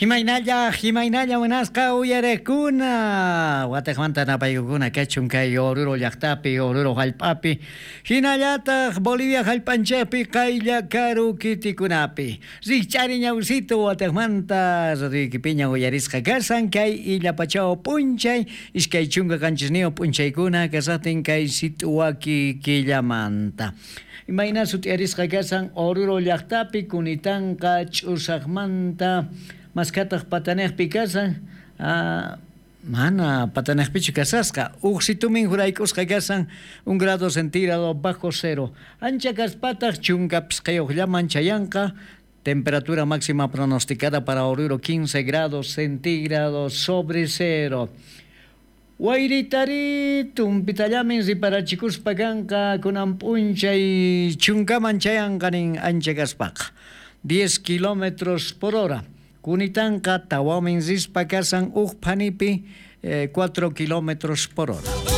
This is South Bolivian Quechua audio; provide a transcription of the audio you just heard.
Imaynalla, imaynalla munasqa uyarekuna. Watejmanta napaykukuna kachun kay Oruro llaqtapi, Oruro hallp'api, hinallataq Bolivia hallp'anchikpi qaylla karu kitikunapi. Rikch'ari ñawsito watejmanta radioykipiña uyarisqa kashan kay illapachaw p'unchay 27 p'unchaykuna kasaqtin kay sit'uwaki killamanta. Imayna sut'iyarisqa kashan Oruro llaqtapi kunitanqa ch'usaqmanta maskataq patanejpi kashan, mana patanejpichu kasasqa, uj situmin jurayk'usqa kashan 1 grado centígrado bajo cero. Ancha kaspataq 15llaman chayanqa, temperatura máxima pronosticada para Oruro 15 grados centígrados sobre cero. Wayritari tumpitallamin riparachikuspa kanqa kunan p'unchay 10man chayanqa nin ancha kaspaqa 10 kilómetros por hora. Kunitanqa tawamin rispa kasan uj phanipi 4 kilómetros por hora.